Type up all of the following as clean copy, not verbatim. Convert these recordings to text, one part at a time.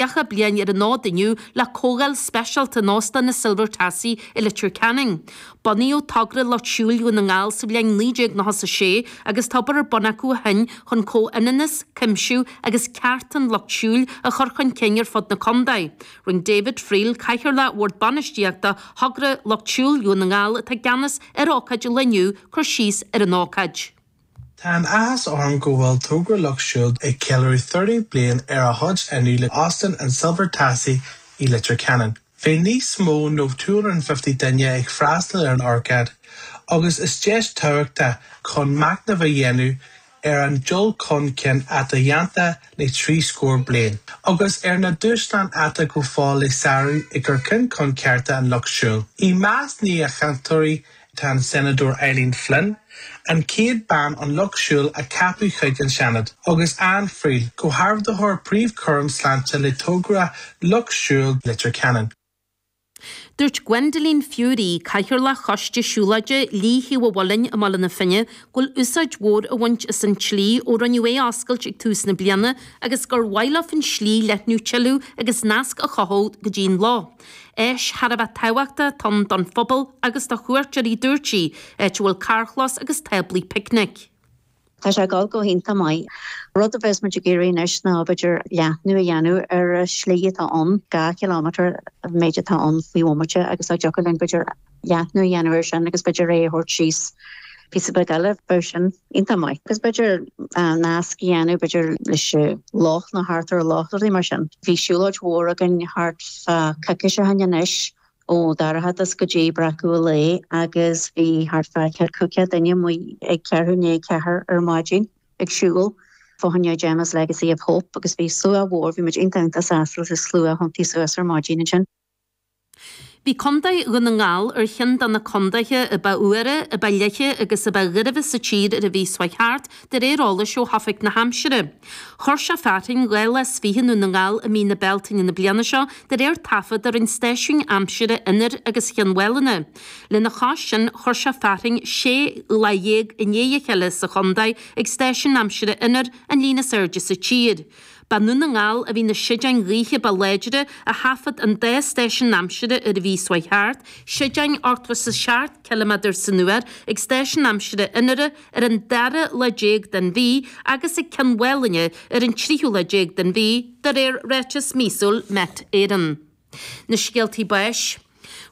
30 bliain ar an fhód inniu le comhdháil speisialta in Óstán na Silver Tassie i Leitir Ceanainn. Bunaíodh Togra Lucht Siúil Dhún na nGall sa bhliain 1996 agus tá obair ar bun acu ó shin chun comhionannas, cuimsiú agus cearta an lucht siúil a chur chun cinn ar fud na contae. Rinne David Friel, Cathaoirleach Bhord Bainistíochta Thogra Lucht Siúil Dhún na nGall atá i gceannas ar ócáid an lae inniu, cur síos ar an ócáid. Tá an-áthas orm go bhfuil Togra Lucht Siúil ag ceiliúradh 30 bliain ar a fhód inniu le Óstán an Silver Tassie i Leitir Ceanainn. Bhí níos mó nó 250 duine ag freastal ar an ócáid agus is deis tábhachtach chun machnamh a dhéanamh ar an dul chun cinn atá déanta le trí scór bliain agus ar na dúshláin atá go fóill le sárú i gcur chun cearta an lucht siúil. I measc na gcainteoirí Tá an Seanadóir Eileen Flynn, an chéad bean ón Lucht Siúil a ceapadh chuig an Seanad, agus Anne Friel, Comhordaitheoir Príomhchúram Sláinte le Togra Lucht Siúil Leitir Ceanainn. Dúirt Gwendoline Furey, Cathaoirleach Choiste Siúlóide Shlí Thaobh an Mhuilinn i mBaile na Finne, go bhfuil úsáid mhór á bhaint as an tslí ó rinneadh é a oscailt ag tús na bliana agus gur mhaith leo an tslí a leathnú tuilleadh agus nasc a chothú go dtí an loch. Áis thar a bheith tábhachtach atá ann don phobal agus do chuairteoirí dúirt sí, áit a bhfuil carrchlós agus táblaí picnic. Tá sé ag dul go hiontach maith. Rud a bheas muid ag iarraidh anois ná b'fhéidir leathnú a dhéanamh ar an slí atá ann, 2 chileámeter an méid atá ann faoi bhomaite agus dá dtiocfadh linn b'fhéidir leathnú a dhéanamh air sin agus b'fhéidir é a thabhairt síos píosa beag eile, bheadh sin iontach maith. Agus b'fhéidir nasc a dhéanamh b'fhéidir leis an loch nó thart ar an loch, rudaí mar sin. Bhí siúlóid mhór againn thart fá coicís ó shin anois ó Dorchadas go dtí Breacadh an Lae agus bhí thart fá 500 duine amuigh ag ceathrú i ndiaidh a ceathair ar maidin ag siúl fá choinne Gemma's Legacy of Hope agus bhí slua mhór, bhí muid iontach iontach sásta leis an slua a thiontaigh suas ar maidin ansin. Bhí Contae Dhún na nGall ar cheann de na contaetha a ba fhuaire, a ba fhliche agus a ba ghairbhe sa tír ar an mhí seo thart, de réir eolais ó Oifig na hAimsire. Chuir sé fearthainn 2 lá is fiche i nDún na nGall i mí na Bealtaine na bliana seo, de réir taifead a rinne stáisiúin aimsire Inbhir agus Chionn Mhálanna. Lena chois sin, chuir sé fearthainn 16 lá i ndiaidh a chéile sa chontae ag stáisiún aimsire Inbhir, an líon is airde sa tír. Ba i nDún na nGall a bhí na séideáin ghaoithe ba láidre a thaifead an dá stáisiún aimsire ar an mhí seo thart, séideáin 87 ciliméadar san uair ag stáisiún aimsire Inbhir ar an dara lá déag den mhí agus ag Cionn Mhálanna ar an tríú lá déag den mhí, de réir ráiteas míosúil Met Éireann. Na scéaltaí báis.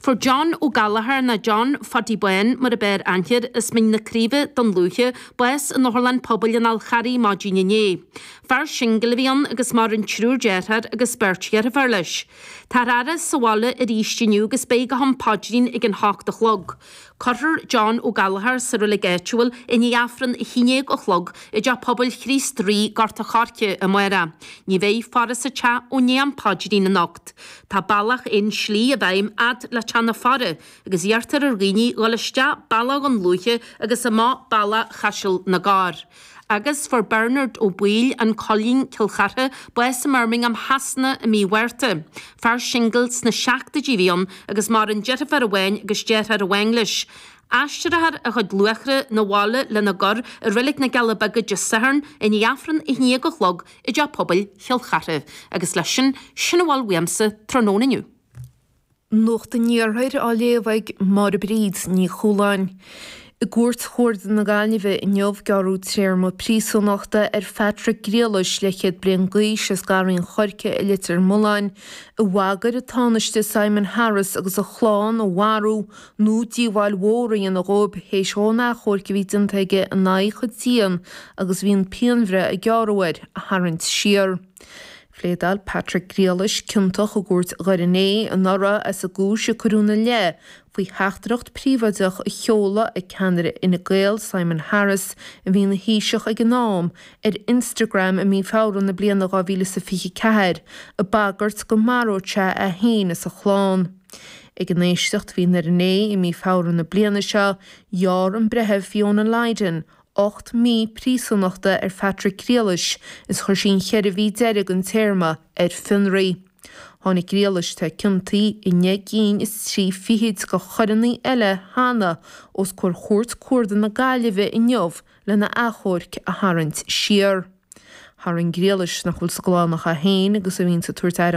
Fuair John Ó Gallchóir, nó John Phaddy Bán mar ab fhearr aithne air, as Mín na Craoibhe, Dún Lúiche, bás in Otharlann Pobail an Fháil Charraigh maidin inné. Fear singil a bhí ann agus maireann triúr deartháir agus beirt dheirféar leis. Táthar á fhaire sa bhaile arís inniu agus beidh go ham paidrín ag an hocht a chlog. Cuirfear John Ó Gallchóir sa reilig áitiúil i ndiaidh Aifreann 11 a chlog i dTeach Pobail Chríost Rí, Gort a' Choirce, amárach. Ní bheidh faire sa teach ó ndiaidh am paidrín anocht. Tá bealach aon slí i bhfeidhm fhad le teach na faire agus iarrtar ar dhaoine dhul isteach bealach Dhún Lúiche agus amach bealach Chaiseal na gCorr. Agus fuair Bernard Ó Baoill, An Coillín, Cill Chartha, bás i mBirmingham Shasana i mí Mhárta. Fear singil sna seachtóidí a bhí ann agus maireann deirfiúr amháin agus deartháir amháin leis. Aistreofar a chuid luachra 'na bhaile lena gcur i Reilig na gCealla Beaga Dé Sathairn i ndiaidh Aifreann 11 a chlog i dTeach Pobail Chill Chartha. Agus leis sin, sin a bhfuil uaimse tráthnóna inniu. Nuacht an Iarthair á léamh ag Máire Bríd Ní Chualáin. I gCúirt Chuarda na Gaillimhe inniu gearradh téarma príosúnachta ar Phatrick Griallais, leathchéad bliain d'aois, as Garraí an Choirce i Leitir Mealláin, a bhagair an Tánaiste Simon Harris agus a chlann a mharú nó díobháil mhór a dhéanamh dhóibh théis dhó an achomhairc a bhí déanta aige in aghaidh a chuid dian agus bhí an pianbhreith a gearradh air a tharraingt siar. Phléadáil Patrick Griallais ciontach i gcúirt Dhoire Né anuraidh as an gcúis a cuireadh ina leith faoi theachtaireacht phríobháideach a sheoladh ag ceannaire Fhine Gael Simon Harris, a bhí ina Thaoiseach ag an am, ar Instagram i mí Feabhra na bliana 2024, ag bagairt go maródh sé é féin is a chlann. Ag an éisteacht a bhí i nDoire Né i mí Feabhra na bliana seo, ghearr an Breitheamh Fiona Lydon 8 mí príosúnachta ar Phatrick Griallais is chuir sí an cheithre mhí deiridh den téarma ar fionraí. Tháinig Griallais, atá ciontaithe i ndeich gcinn is trí fichid de choireanna eile cheana, os comhair Chúirt Cuarda na Gaillimhe inniu lena achomharc a tharraingt siar. Tharraing Griallais, nach bhfuil sa gclann ach é féin agus a bhíonns ag tabhairt aire dhá.